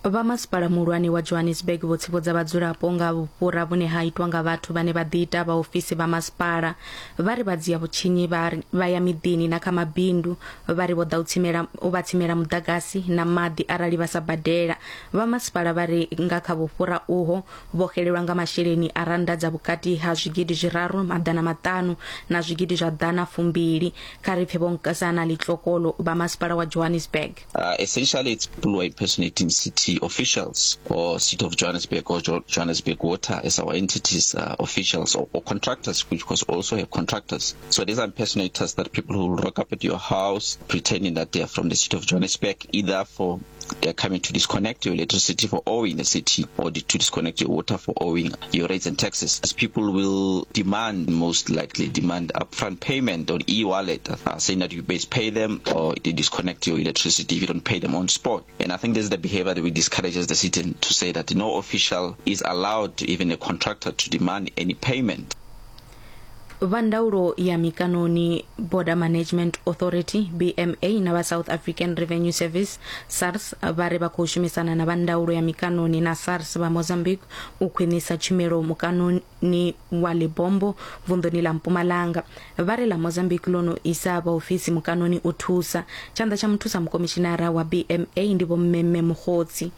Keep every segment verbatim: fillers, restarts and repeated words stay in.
Vha masipala muhulwane wa Johannesburg vho tsivhudza vhadzulapo nga vhufhura vhune ha itwa nga vhathu vhane vha ḓiita vhaofisi vha masipala. Vha ri vha dzia vhutshinyi vha ya miḓini na kha mabindu, vha ri vho ḓa u tsimela u vha tsimela muḓagasi na maḓi arali vha sa badela. Vha masipala vha ri nga kha vhufhura uho vho xelelwa nga masheleni a rannda dza vhukati ha zwigidi zwiraru maḓana maṱanu na zwigidi zwa ḓana fumbili. Kha ri pfe Vho Nkosana Litlokolo vha masipala wa Johannesburg. Uh, essentially it's people who are impersonating city officials or City of Johannesburg or jo- Johannesburg Water as our entities, uh, officials or, or contractors, which was also have contractors. So these are impersonators, that people who rock up at your house pretending that they are from the City of Johannesburg, either for they are coming to disconnect your electricity for owing the city or to disconnect your water for owing your rates and taxes. As people will demand, most likely demand upfront payment on e-wallet, uh, saying that you best pay them or they disconnect your electricity if you don't pay them on spot. And I think this is the behavior that we discourage as the city, to say that no official is allowed, even a contractor, to demand any payment. Vha ndaulo ya mikanoni Border Management Authority B M A na vha South African Revenue Service SARS vha ri vha khou shumisana na vha ndaulo ya mikanoni na SARS vha Mozambique u khwinisa tshumelo mukanoni wa Lebombo vunḓuni ḽa Mpumalanga. Vha ri ḽa Mozambique ḽo no isa vhaofisi mukanoni u thusa. Tshanḓa tsha muthusa mukomishinara wa B M A ndi Vho Mmemme Mokgotsi.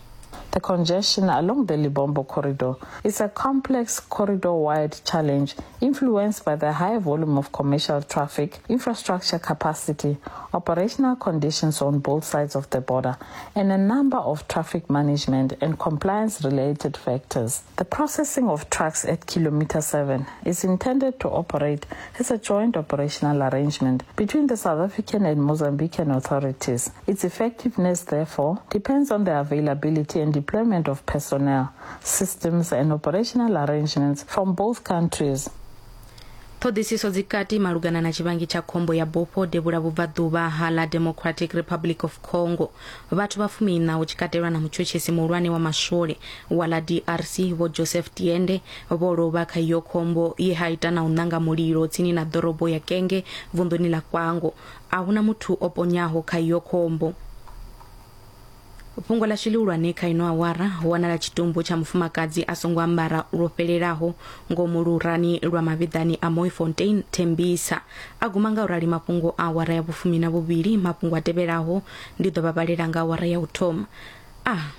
The congestion along the Lebombo corridor is a complex corridor-wide challenge influenced by the high volume of commercial traffic, infrastructure capacity, operational conditions on both sides of the border, and a number of traffic management and compliance-related factors. The processing of trucks at Kilometer seven is intended to operate as a joint operational arrangement between the South African and Mozambican authorities. Its effectiveness, therefore, depends on the availability and deployment of personnel, systems and operational arrangements from both countries. Ṱhoḓisiso dzikati malugana na tshivhangi tsha khombo ya bufho devhula vhubvaḓuvha ha ḽa Democratic Republic of Congo. Vhathu vha fumiiṋa hu tshi katelwa na mutshutshisi muhulwane wa maswole wa ḽa D R C Vho Joseph Tiende vho lovha kha iyo khombo ye ha ita na u ṋanga mulilo tsini na ḓorobo ya Kenge vunḓuni ḽa Kwango. A huna muthu o ponyaho kha iyo khombo. Fhungo ḽashu ḽihulwane kha ino awara ho wanala tshitumbu tsha mufumakadzi a songo ambara lwo fhelelaho ngomu lurani lwa mavhiḓani a Mooifontein Tembisa. A guma nga u rali mafhungo a awara ya vhufumi na vhuvhili. Mafhungo a tevhelaho ndi ḓo vha vhalela nga awara ya u thoma. Ah.